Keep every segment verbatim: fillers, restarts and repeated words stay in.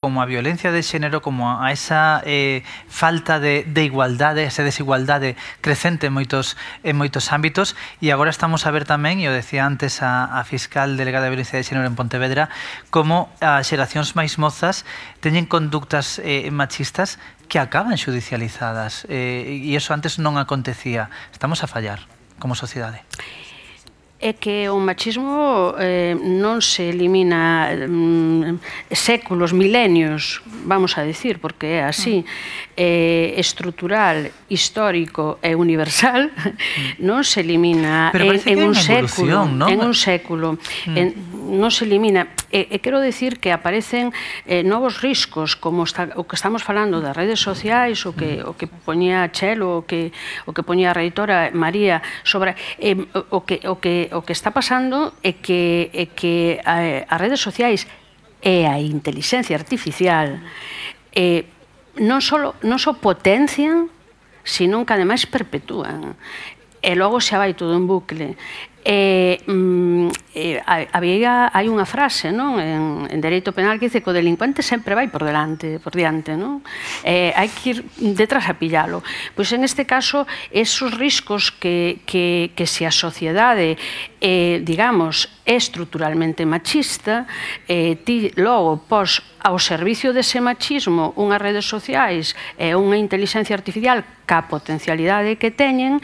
como a violencia de xénero, como a esa eh, falta de, de igualdade, esa desigualdade crecente en moitos, en moitos ámbitos, e agora estamos a ver tamén, e o decía antes a, a fiscal delegada de violencia de xénero en Pontevedra, como as xeracións máis mozas teñen conductas eh, machistas que acaban xudicializadas, eh, e iso antes non acontecía. Estamos a fallar como sociedade. É que o machismo eh, non se elimina mm, séculos, milenios, vamos a decir, porque é así, eh, estrutural, histórico e universal, non se elimina en, en un século, ¿no? En un século, mm. en, non se elimina. E, e quero decir que aparecen eh, novos riscos, como está, o que estamos falando das redes sociais, o que, o que poñía Chelo, o que, o que poñía a reitora María, sobre eh, o que, o que o que está pasando é que, é que a, as redes sociais e a inteligencia artificial eh, non só non só potencian, sino que ademais perpetúan. E logo xa vai todo en bucle. Eh, eh, había, hai unha frase, non? En, en dereito penal que dice que o delincuente sempre vai por delante, por diante, non? Eh, hai que ir detrás a pillalo. Pois en este caso, esos riscos que, que, que se a sociedade, eh, digamos, é estruturalmente machista, eh, ti logo pos ao servicio dese machismo unhas redes sociais e unha inteligencia artificial ca potencialidade que teñen,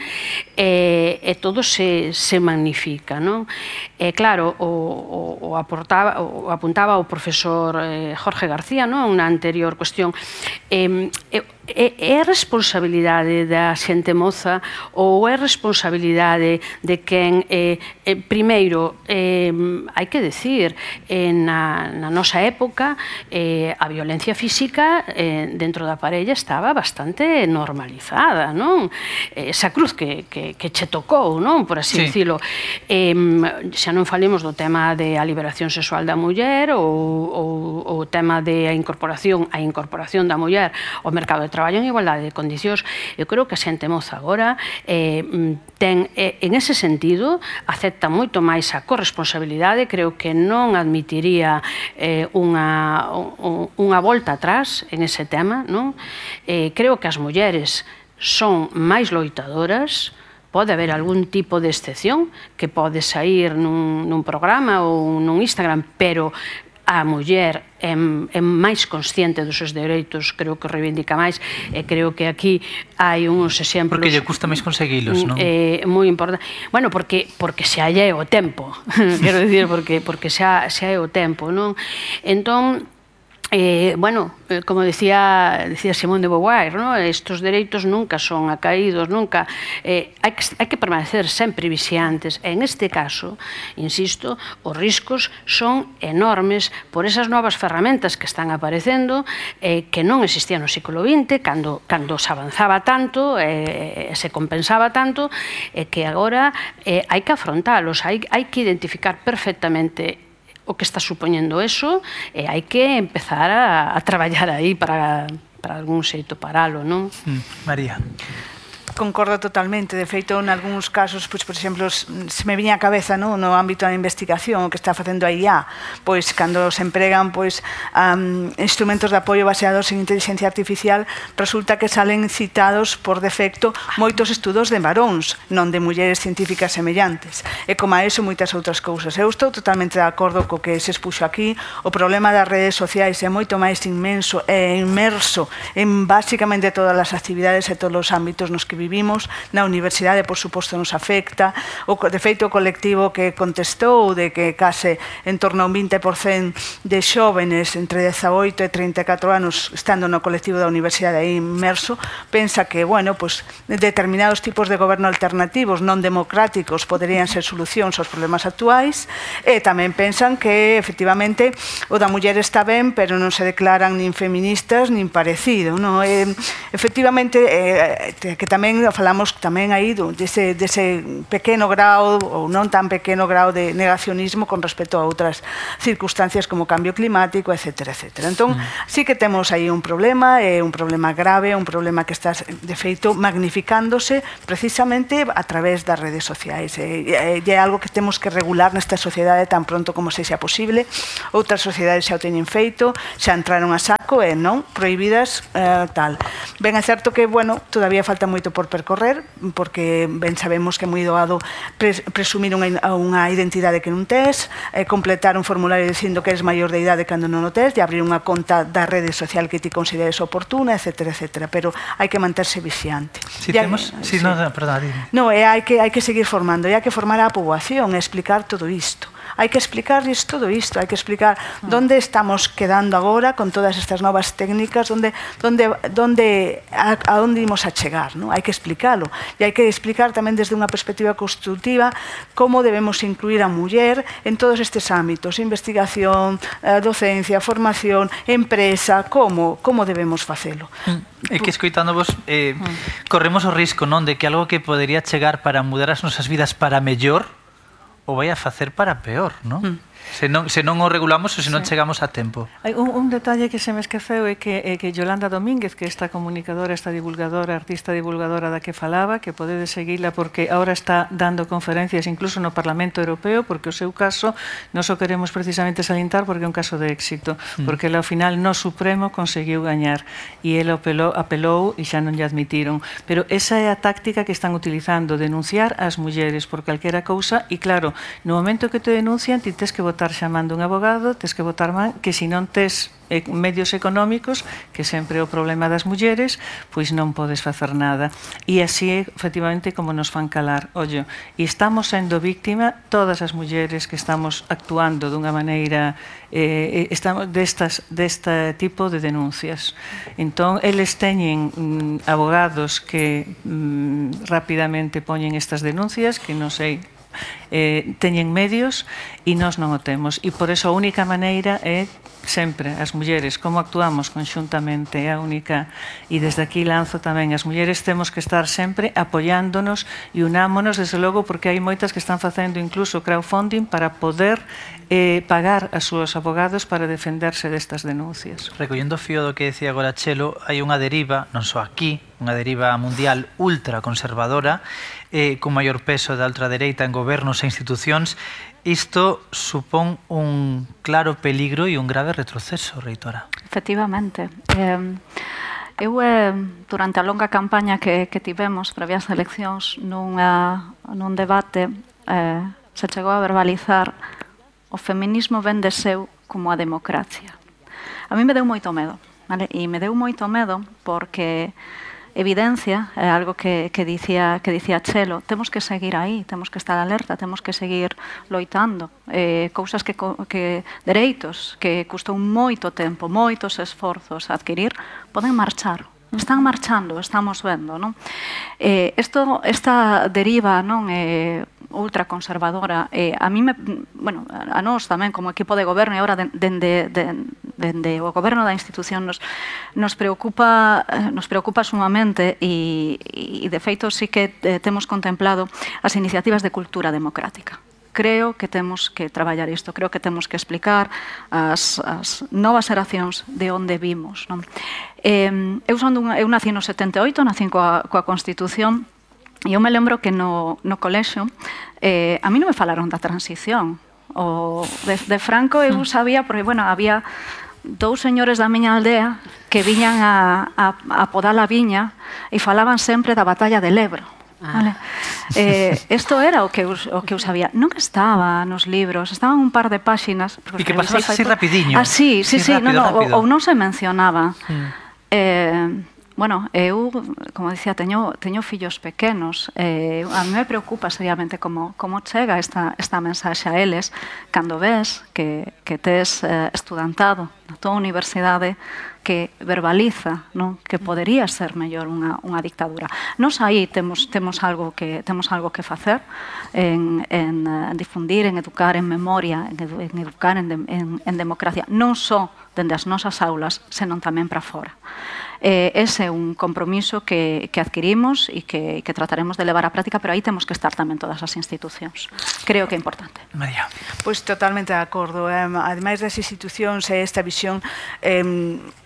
e, e todo se, se magnifica, non? E claro, o, o, o, aportaba, o apuntaba o profesor eh, Jorge García, non? Na anterior cuestión. Eh, eh, É responsabilidade da xente moza ou é responsabilidade de quen, eh, eh, primeiro, eh, hai que decir, eh, na, na nosa época eh, a violencia física eh, dentro da parella estaba bastante normalizada, non? Esa cruz que, que, que che tocou, non? Por así sí. Dicilo. Eh, xa non falemos do tema de a liberación sexual da muller ou, ou, ou o tema de a incorporación, a incorporación da muller ao mercado de traballo en igualdade de condicións. Eu creo que a xente moza agora eh, ten, eh, en ese sentido, acepta moito máis a corresponsabilidade, creo que non admitiría eh, unha, un, unha volta atrás en ese tema, non? Eh, creo que as mulleres son máis loitadoras, pode haber algún tipo de excepción que pode sair nun, nun programa ou nun Instagram, pero a muller é, é máis consciente dos seus dereitos, creo que reivindica máis, e creo que aquí hai uns exemplos... Porque lle custa máis conseguilos, non? É moi importante. Bueno, porque, porque xa é o tempo, quero dicir, porque, porque xa, xa é o tempo, non? Entón, Eh, bueno, eh, como decía, decía Simone de Beauvoir, ¿no? Estos dereitos nunca son acaídos, nunca eh, hai, que, hai que permanecer sempre vixiantes. En este caso, insisto, os riscos son enormes por esas novas ferramentas que están aparecendo, eh, que non existían no século vinte, cando, cando se avanzaba tanto, eh, se compensaba tanto, eh, que agora eh, hai que afrontalos, hai, hai que identificar perfectamente o que está supoñendo eso, e hai que empezar a, a traballar aí para, para algún xeito paralo, non? Mm, María. Concordo totalmente. De feito, en algúns casos, pois, por exemplo, se me viña a cabeza, no, no ámbito da investigación, o que está facendo a I A, pois, cando se empregan pois, um, instrumentos de apoio baseados en inteligencia artificial, resulta que salen citados por defecto moitos estudos de varóns, non de mulleres científicas semellantes. E como a eso, moitas outras cousas. Eu estou totalmente de acordo co que se expuxo aquí. O problema das redes sociais é moito máis inmenso e inmerso en basicamente todas as actividades e todos os ámbitos nos que vivimos. Vivimos na universidade, por suposto, nos afecta. O, de feito, o colectivo que contestou de que case en torno a un vinte por cento de xóvenes entre dezaoito e trinta e catro anos estando no colectivo da universidade aí inmerso, pensa que, bueno, pues, determinados tipos de goberno alternativos non democráticos poderían ser solucións aos problemas actuais, e tamén pensan que, efectivamente, o da muller está ben, pero non se declaran nin feministas nin parecido, non? E, efectivamente, eh, que tamén tamén falamos tamén aí dese, dese pequeno grao ou non tan pequeno grao de negacionismo con respecto a outras circunstancias como o cambio climático, etcétera, etcétera. Entón, mm. sí que temos aí un problema, é un problema grave, un problema que está, de feito, magnificándose precisamente a través das redes sociais. E é algo que temos que regular nesta sociedade tan pronto como sexa posible. Outras sociedades xa o teñen feito, xa entraron a saco e non prohibidas eh, tal. Ben, é certo que, bueno, todavía falta moito por percorrer, porque ben sabemos que é moi doado pres presumir unha, unha identidade que non tes, eh, completar un formulario dicindo que eres maior de idade cando non o tes, e abrir unha conta da rede social que ti consideres oportuna, etcétera, etcétera. Pero hai que manterse vixiante. Si ya, temos... Sí, sí. No, no, perdón, no, e hai que, hai que seguir formando, e hai que formar a poboación e explicar todo isto. Hai que explicarles todo isto, hai que explicar onde estamos quedando agora con todas estas novas técnicas, onde, onde, onde, a, a onde imos a chegar, non? Hai que explicalo. E hai que explicar tamén desde unha perspectiva constructiva como debemos incluir a muller en todos estes ámbitos, investigación, docencia, formación, empresa, como, como debemos facelo. É que escoitándovos eh, corremos o risco, non, de que algo que podería chegar para mudar as nosas vidas para mellor o vai a facer para peor, non? Mm. Se non, se non o regulamos ou se non sí. chegamos a tempo. Hai un, un detalle que se me esqueceu é que, é que Yolanda Domínguez, que esta comunicadora, esta divulgadora, artista divulgadora da que falaba, que podedes seguila porque ahora está dando conferencias incluso no Parlamento Europeo, porque o seu caso non o queremos precisamente salientar porque é un caso de éxito, mm. porque ela ao final no Supremo conseguiu gañar e ela apelou, apelou e xa non lle admitiron. Pero esa é a táctica que están utilizando, denunciar as mulleres por calquera cousa e claro, no momento que te denuncian ti tes que votar chamando un abogado, tes que votar man, que se non tes eh, medios económicos, que sempre é o problema das mulleres, pois non podes facer nada. E así é, efectivamente, como nos fan calar. Ollo, e estamos sendo víctima todas as mulleres que estamos actuando dunha maneira eh, estamos destas, deste tipo de denuncias. Entón, eles teñen mm, abogados que mm, rapidamente poñen estas denuncias, que non sei, Eh, teñen medios e nós non o temos e por eso a única maneira é sempre as mulleres, como actuamos conxuntamente é a única e desde aquí lanzo tamén as mulleres temos que estar sempre apoiándonos e unámonos desde logo porque hai moitas que están facendo incluso crowdfunding para poder eh, pagar a súas abogados para defenderse destas denuncias. Recollendo o fío do que decía agora Chelo, hai unha deriva, non só aquí, unha deriva mundial ultraconservadora eh, con maior peso da ultradereita en gobernos e institucións. Isto supón un claro peligro e un grave retroceso, reitora. Efectivamente. Eh, eu, eh, durante a longa campaña que, que tivemos previa ás eleccións, nunha, nun debate, eh, se chegou a verbalizar o feminismo ven de seu como a democracia. A mí me deu moito medo, vale? E me deu moito medo porque evidencia, é algo que, que, dicía, que dicía Chelo, temos que seguir aí, temos que estar alerta, temos que seguir loitando. Eh, cousas que, que, dereitos que custou moito tempo, moitos esforzos a adquirir, poden marchar. Están marchando, estamos vendo, non? Eh, esto, esta deriva, non, eh, ultraconservadora, eh, a mí me, bueno, a nós tamén como equipo de goberno e agora dende de, de, de, de o goberno da institución nos, nos preocupa nos preocupa sumamente e, e de feito sí que eh, temos contemplado as iniciativas de cultura democrática. Creo que temos que traballar isto, creo que temos que explicar as, as novas xeracións de onde vimos, non? Eh, eu, son dun, eu nací no setenta e oito, nací coa, coa Constitución, e eu me lembro que no, no colexio eh, a mí non me falaron da transición. O de, de Franco eu sabía, porque, bueno, había dous señores da miña aldea que viñan a, a, a podar a viña e falaban sempre da batalla del Ebro. Ah. Vale. Eh, esto era o que, eu, o que eu sabía. Non estaba nos libros, estaban un par de páxinas. E que pasabas así rapidiño. Ah, sí, sí, sí, rápido, no, no, rápido. Ou non se mencionaba. Sí. Eh, bueno, eu, como dicía, teño, teño fillos pequenos. Eh, a mí me preocupa seriamente como, como chega esta, esta mensaxe a eles cando ves que, que tes eh, estudantado na tua universidade que verbaliza, non, que podería ser mellor unha, unha dictadura. Nos aí temos, temos, algo que, temos algo que facer en, en uh, difundir, en educar en memoria, en, edu, en educar en, de, en, en democracia, non só dende as nosas aulas, senón tamén para fora. Eh, ese é un compromiso que, que adquirimos e que, que trataremos de levar á práctica, pero aí temos que estar tamén todas as institucións. Creo que é importante. María. Pois totalmente de acordo. Eh, ademais das institucións e esta visión eh,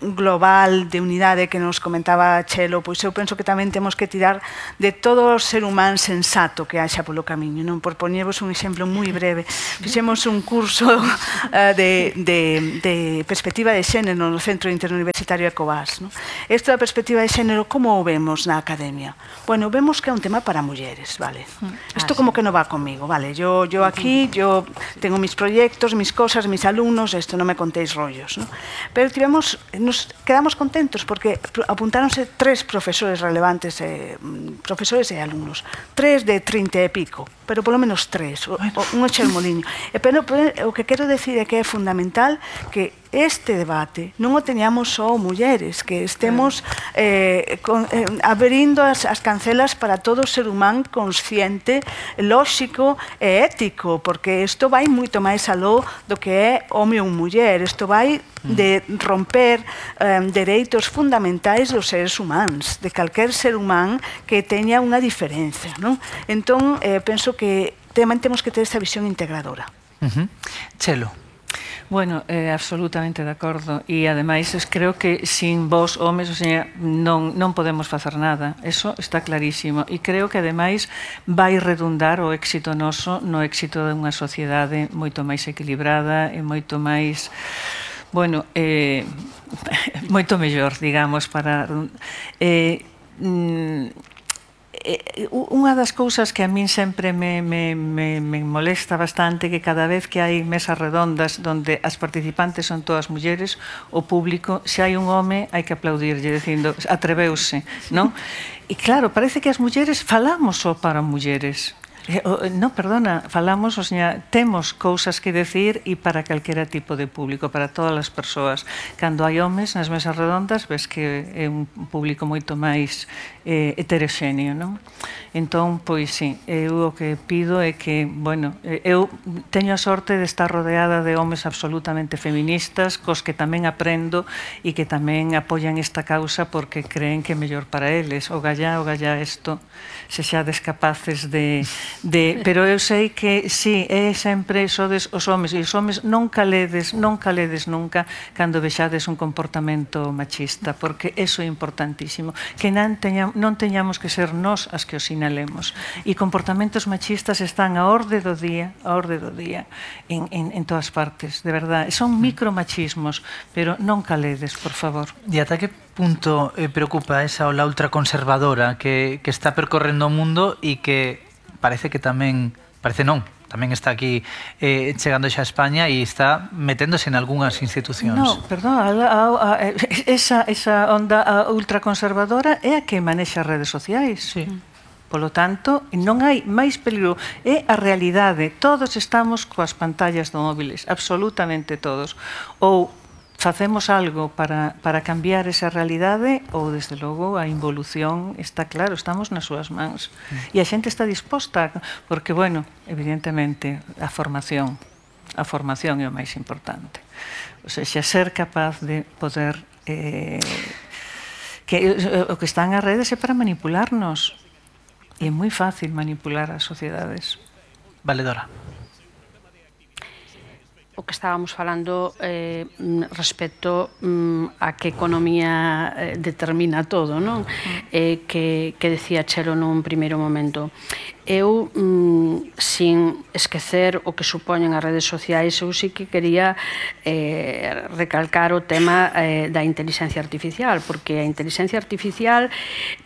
global de unidade que nos comentaba Chelo, pois eu penso que tamén temos que tirar de todo o ser humano sensato que haxa polo camiño. Non? Por poñervos un exemplo moi breve. Fixemos un curso uh, de, de, de perspectiva de xénero no Centro Interuniversitario Ecovás. Non? Isto da perspectiva de xénero, como o vemos na academia? Bueno, vemos que é un tema para mulleres, vale? Isto como que non va comigo, vale? Yo, yo aquí, yo tengo mis proyectos, mis cosas, mis alumnos, esto non me contéis rollos, ¿no? Pero tivemos, nos quedamos contentos porque apuntáronse tres profesores relevantes, eh, profesores e alumnos, tres de trinta e pico, pero polo menos tres, o, o, un xermoliño. E pero, pero o que quero decir é que é fundamental que este debate non o teñamos só mulleres, que estemos eh, con, eh, abrindo as, as cancelas para todo ser humano consciente, lóxico e ético, porque isto vai moito máis aló do que é home ou muller, isto vai de romper eh, dereitos fundamentais dos seres humanos, de calquer ser humano que teña unha diferencia, non? Entón, eh, penso que tamén temos que ter esta visión integradora. Uh-huh. Chelo. Bueno, eh, absolutamente de acordo e ademais creo que sin vos homes, o sea, non, non podemos facer nada, eso está clarísimo e creo que ademais vai redundar o éxito noso no éxito de unha sociedade moito máis equilibrada e moito máis, bueno, eh, moito mellor, digamos, para eh, mm, Eh, unha das cousas que a min sempre me, me, me, me molesta bastante que cada vez que hai mesas redondas donde as participantes son todas mulleres, o público, se hai un home hai que aplaudirlle dicindo atreveuse, non? E claro, parece que as mulleres falamos só para mulleres. Eh, oh, no, perdona, falamos, o sea, temos cousas que decir e para calquera tipo de público, para todas as persoas. Cando hai homes nas mesas redondas, ves que é un público moito máis eh, heteroxéneo, non? Entón, pois, sí, eu o que pido é que, bueno, eu teño a sorte de estar rodeada de homes absolutamente feministas, cos que tamén aprendo e que tamén apoian esta causa porque creen que é mellor para eles. O gallá, o gallá isto, se xa descapaces de... De, pero eu sei que sí, é sempre sodes os homes e os homes non caledes, non caledes nunca cando vexades un comportamento machista, porque eso é importantísimo, que non, teña, non teñamos que ser nós as que os sinalemos, e comportamentos machistas están a orde do día, a orde do día en, en, en todas partes, de verdade, son micromachismos, pero non caledes, por favor. E ata que punto eh, preocupa esa ola ultraconservadora que, que está percorrendo o mundo e que parece que tamén, parece non, tamén está aquí eh, chegando xa a España e está meténdose en algunhas institucións. No, perdón, a, a, a, esa, esa onda ultraconservadora é a que manexa as redes sociais. Sí. Polo tanto, non hai máis peligro. É a realidade. Todos estamos coas pantallas do móviles, absolutamente todos. Ou facemos algo para, para cambiar esa realidade ou, desde logo, a involución está claro, estamos nas súas mans. E a xente está disposta, porque, bueno, evidentemente, a formación, a formación é o máis importante. O sea, xa ser capaz de poder... Eh, que o que están as redes é para manipularnos. E é moi fácil manipular as sociedades. Valedora. O que estábamos falando eh, respecto mm, a que economía eh, determina todo, non? Eh, que, que decía Chelo nun primeiro momento. Eu, mm, sin esquecer o que supoñen as redes sociais, eu sí que quería eh, recalcar o tema eh, da inteligencia artificial, porque a inteligencia artificial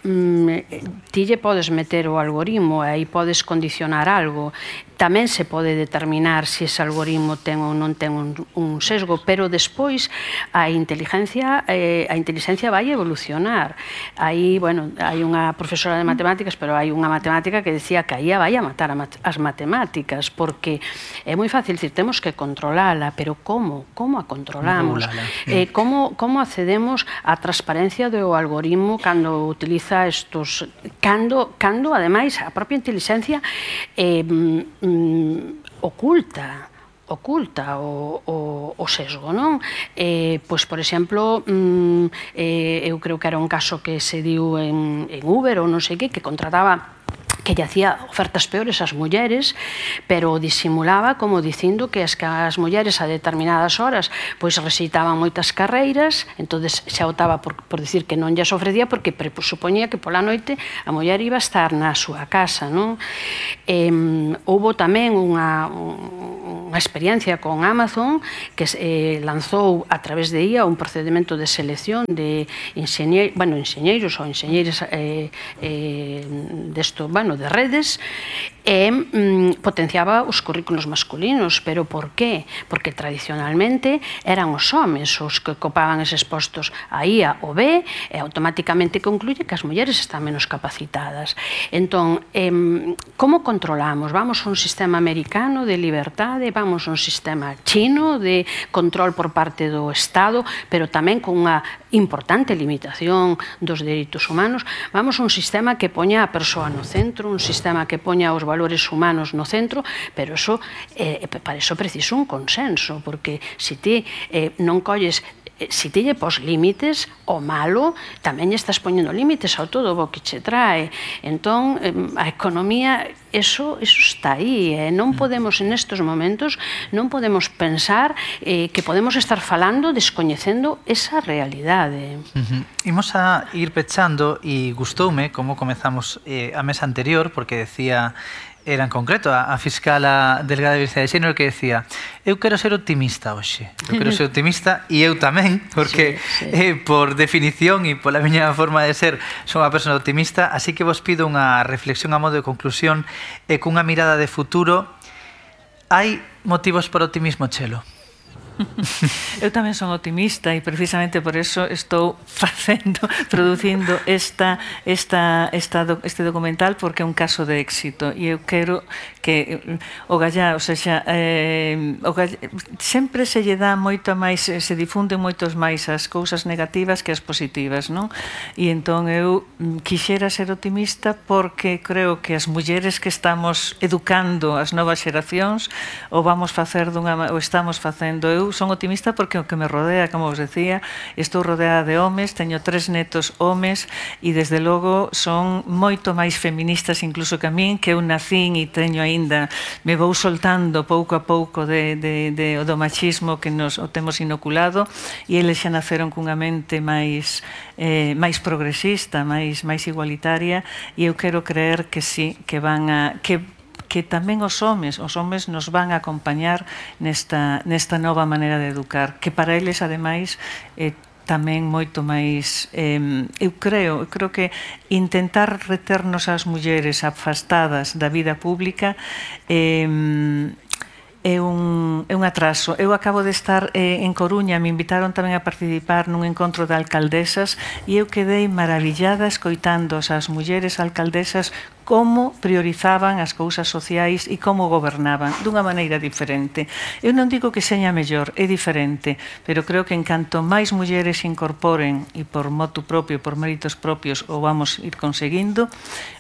mm, ti lle podes meter o algoritmo e aí podes condicionar algo. Tamén se pode determinar se ese algoritmo ten ou non ten un, un sesgo, pero despois a inteligencia eh, a inteligencia vai evolucionar. Aí, bueno, hai unha profesora de matemáticas, pero hai unha matemática que decía que aí vai a matar a mat as matemáticas, porque é moi fácil dicir, temos que controlala, pero como? Como a controlamos? Eh, como, como accedemos á transparencia do algoritmo cando utiliza estos... Cando, cando ademais, a propia inteligencia eh, mm, oculta oculta o, o, o sesgo, non? Eh, pois, por exemplo, mm, eh, eu creo que era un caso que se diu en, en Uber ou non sei que, que contrataba que lle hacía ofertas peores ás mulleres, pero disimulaba como dicindo que as, que as mulleres a determinadas horas pois recitaban moitas carreiras, entonces xa optaba por, por dicir que non lles ofrecía porque presupoñía que pola noite a muller iba a estar na súa casa, non? Eh, houbo tamén unha, unha experiencia con Amazon que eh, lanzou a través de I A un procedimento de selección de enxeñeiros, bueno, enxeñeiros ou enxeñeiras eh, eh, desto, bueno, de redes e mm, potenciaba os currículos masculinos, pero por qué? Porque tradicionalmente eran os homes os que ocupaban eses postos. A I A o ve e automáticamente concluye que as mulleres están menos capacitadas. Entón, eh, como controlamos? Vamos a un sistema americano de liberdade, vamos a un sistema chino de control por parte do Estado, pero tamén con unha importante limitación dos dereitos humanos. Vamos a un sistema que poña a persoa no centro, un sistema que poña os valores humanos no centro, pero eso, eh, para eso preciso un consenso, porque se ti eh, non colles se ti lle pos límites, o malo tamén lle estás poñendo límites ao todo o que che trae. Entón, a economía, eso, eso está aí. Eh? Non podemos, en estes momentos, non podemos pensar eh, que podemos estar falando descoñecendo esa realidade. Uh-huh. Imos a ir pechando e gustoume como comezamos eh, a mesa anterior, porque decía era en concreto a, a fiscala delegada de Diversidade de Xénero que decía eu quero ser optimista hoxe, eu quero ser optimista e eu tamén, porque sí, sí. Eh, por definición e pola miña forma de ser son unha persona optimista, así que vos pido unha reflexión a modo de conclusión e cunha mirada de futuro. Hai motivos para optimismo, Chelo? Eu tamén son optimista e precisamente por eso estou facendo, producindo esta, esta, esta, este documental porque é un caso de éxito e eu quero que o Gallá, o sea, eh, o Gallá, sempre se lle dá moito máis, se difunden moitos máis as cousas negativas que as positivas, non? E entón eu quixera ser optimista porque creo que as mulleres que estamos educando as novas xeracións o vamos facer dunha, o estamos facendo. Eu son optimista porque o que me rodea, como vos decía, estou rodeada de homes, teño tres netos homes e desde logo son moito máis feministas incluso que a min, que eu nacín e teño aínda, me vou soltando pouco a pouco de, de, de, do machismo que nos o temos inoculado e eles xa naceron cunha mente máis eh, máis progresista, máis, máis igualitaria e eu quero creer que sí, que van a que que tamén os homes, os homes nos van a acompañar nesta, nesta nova maneira de educar, que para eles, ademais, eh, tamén moito máis, eh, eu creo, eu creo que intentar reternos as mulleres afastadas da vida pública eh, é un, é un atraso. Eu acabo de estar eh, en Coruña, me invitaron tamén a participar nun encontro de alcaldesas e eu quedei maravillada escoitando as mulleres alcaldesas como priorizaban as cousas sociais e como gobernaban dunha maneira diferente. Eu non digo que seña mellor, é diferente, pero creo que en canto máis mulleres se incorporen e por motu propio, por méritos propios o vamos ir conseguindo,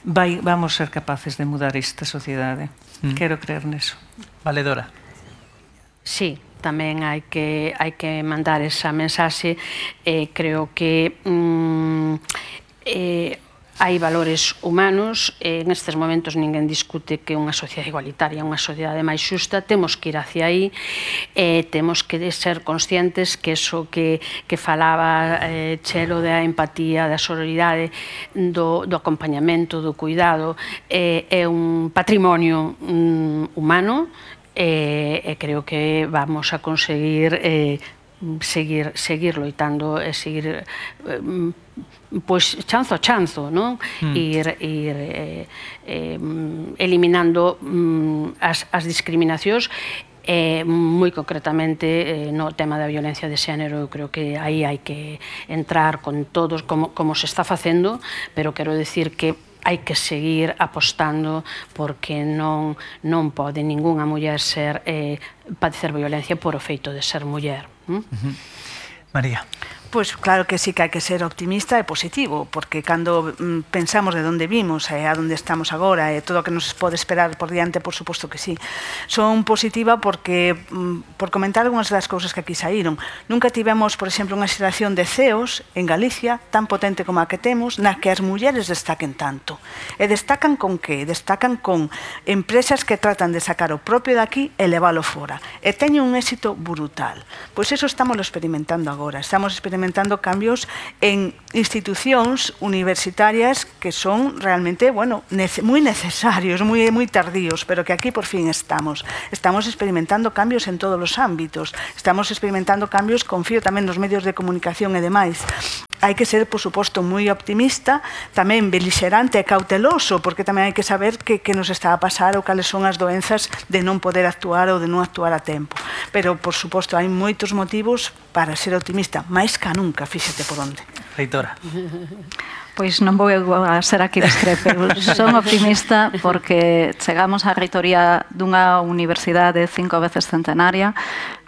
vai, vamos ser capaces de mudar esta sociedade. Mm. Quero creer neso. Valedora. Sí, tamén hai que hai que mandar esa mensaxe. Eh, creo que mm, eh, hai valores humanos, eh, en estes momentos ninguén discute que unha sociedade igualitaria, unha sociedade máis xusta, temos que ir hacia aí, eh, temos que ser conscientes que eso que, que falaba eh, Chelo da empatía, da sororidade, do, do acompañamento, do cuidado, eh, é un patrimonio mm, humano, e eh, eh, creo que vamos a conseguir eh, seguir, seguir loitando e seguir eh, pois chanzo a chanzo, non? Mm. Ir, ir eh, eh, eliminando mm, as, as discriminacións. Eh, moi concretamente eh, no tema da violencia de xénero, eu creo que aí hai que entrar con todos como, como se está facendo, pero quero decir que hai que seguir apostando porque non, non pode ningunha muller ser eh, padecer violencia por o feito de ser muller. ¿Mm? Uh-huh. María. Pois claro que sí que hai que ser optimista e positivo, porque cando mm, pensamos de onde vimos e a onde estamos agora e todo o que nos pode esperar por diante, por suposto que sí. Son positiva porque, mm, por comentar algunhas das cousas que aquí saíron, nunca tivemos, por exemplo, unha xeración de C E Os en Galicia tan potente como a que temos, na que as mulleres destaquen tanto. E destacan con que? Destacan con empresas que tratan de sacar o propio de aquí e leválo fora. E teñen un éxito brutal. Pois eso estamos experimentando agora. Estamos experimentando cambios en institucións universitarias que son realmente, bueno, nece moi necesarios, moi, moi tardíos, pero que aquí por fin estamos. Estamos experimentando cambios en todos os ámbitos. Estamos experimentando cambios, confío tamén nos medios de comunicación e demais. Hai que ser, por suposto, moi optimista, tamén belixerante e cauteloso, porque tamén hai que saber que, que nos está a pasar ou cales son as doenzas de non poder actuar ou de non actuar a tempo. Pero, por suposto, hai moitos motivos para ser optimista, máis ca nunca, fíxate por onde. Reitora. Pois non vou a ser aquí discrepe. Son optimista porque chegamos á reitoría dunha universidade cinco veces centenaria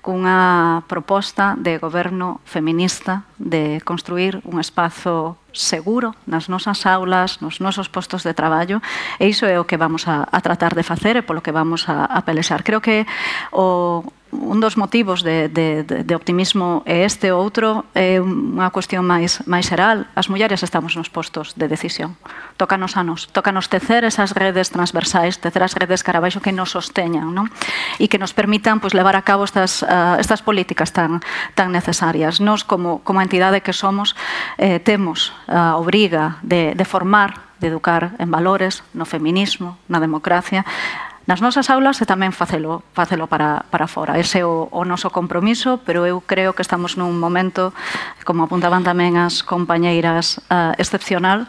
cunha proposta de goberno feminista de construir un espazo seguro nas nosas aulas, nos nosos postos de traballo, e iso é o que vamos a, a tratar de facer e polo que vamos a, a pelexar. Creo que o un dos motivos de, de, de optimismo é este, o outro é unha cuestión máis, máis xeral. As mulleres estamos nos postos de decisión. Tócanos a nos, tócanos tecer esas redes transversais, tecer as redes carabaixo que nos sosteñan, non? E que nos permitan pues, levar a cabo estas, uh, estas políticas tan, tan necesarias. Nos, como, como entidade que somos, eh, temos a obriga de, de formar, de educar en valores, no feminismo, na democracia, nas nosas aulas e tamén facelo, facelo para, para fora. Ese é o, o noso compromiso, pero eu creo que estamos nun momento, como apuntaban tamén as compañeiras, uh, excepcional,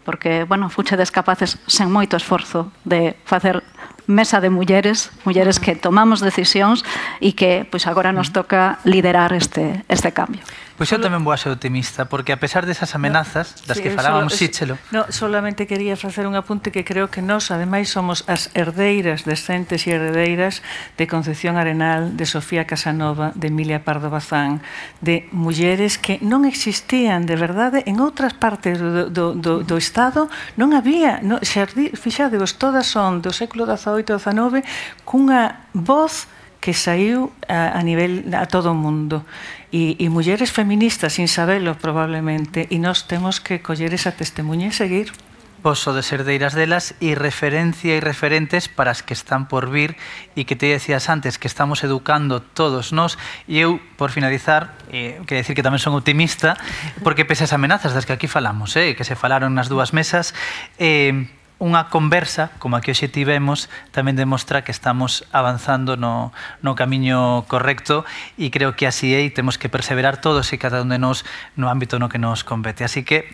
porque, bueno, fuchedes capaces, sen moito esforzo, de facer mesa de mulleres, mulleres que tomamos decisións e que, pois, agora nos toca liderar este, este cambio. Pois eu tamén vou a ser optimista, porque a pesar desas amenazas das que falábamos, sí, Chelo. No, solamente quería facer un apunte que creo que nós, ademais, somos as herdeiras descentes e herdeiras de Concepción Arenal, de Sofía Casanova, de Emilia Pardo Bazán, de mulleres que non existían de verdade en outras partes do, do, do, do Estado, non había, no, fixadevos, todas son do século dezaoito e dezanove, cunha voz que saiu a, a nivel a todo o mundo. E, e mulleres feministas, sin sabelo probablemente, e nós temos que coller esa testemunha e seguir. Poso de ser deiras delas e referencia e referentes para as que están por vir e que te decías antes que estamos educando todos nós. E eu, por finalizar, eh, quero decir que tamén son optimista porque pese as amenazas das que aquí falamos, eh, que se falaron nas dúas mesas, eh, unha conversa, como a que hoxe tivemos, tamén demostra que estamos avanzando no, no camiño correcto e creo que así é e temos que perseverar todos e cada un de nós no ámbito no que nos compete. Así que,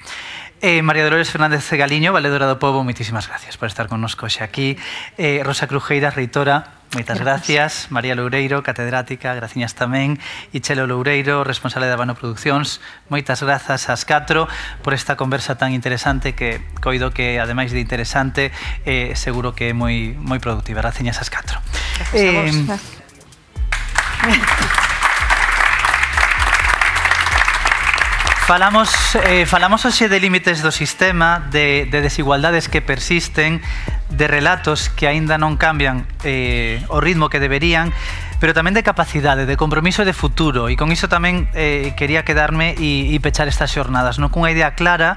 eh, María Dolores Fernández Galiño, Valedora do Pobo, moitísimas gracias por estar connosco hoxe aquí. Eh, Rosa Crujeira, reitora, moitas gracias. María Loureiro, catedrática, graciñas tamén. E Chelo Loureiro, responsable de Habano Produccións, moitas grazas ás catro por esta conversa tan interesante que coido que, ademais de interesante, eh, seguro que é moi, moi productiva. Graciñas ás catro. Gracias a vos. Eh, Falamos, eh, falamos hoxe de límites do sistema, de, de desigualdades que persisten, de relatos que aínda non cambian eh, o ritmo que deberían, pero tamén de capacidade, de compromiso de futuro. E con iso tamén eh, quería quedarme e, e pechar estas xornadas, non cunha idea clara.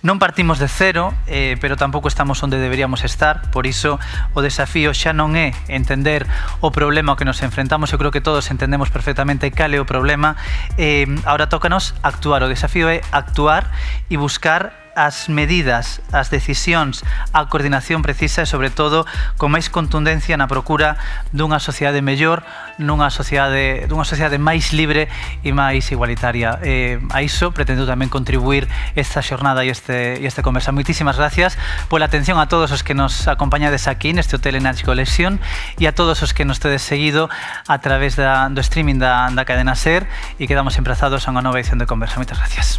Non partimos de cero, eh, pero tampouco estamos onde deberíamos estar, por iso o desafío xa non é entender o problema ao que nos enfrentamos, eu creo que todos entendemos perfectamente cal é o problema, eh, ahora tócanos actuar, o desafío é actuar e buscar as medidas, as decisións, a coordinación precisa e, sobre todo, con máis contundencia na procura dunha sociedade mellor, nunha sociedade, dunha sociedade máis libre e máis igualitaria. Eh, a iso pretendo tamén contribuir esta xornada e este, e este conversa. Moitísimas gracias pola atención a todos os que nos acompañades aquí neste Hotel Energy Collection e a todos os que nos tedes seguido a través da, do streaming da, da cadena SER e quedamos emprazados a unha nova edición de Conversa. Moitas gracias.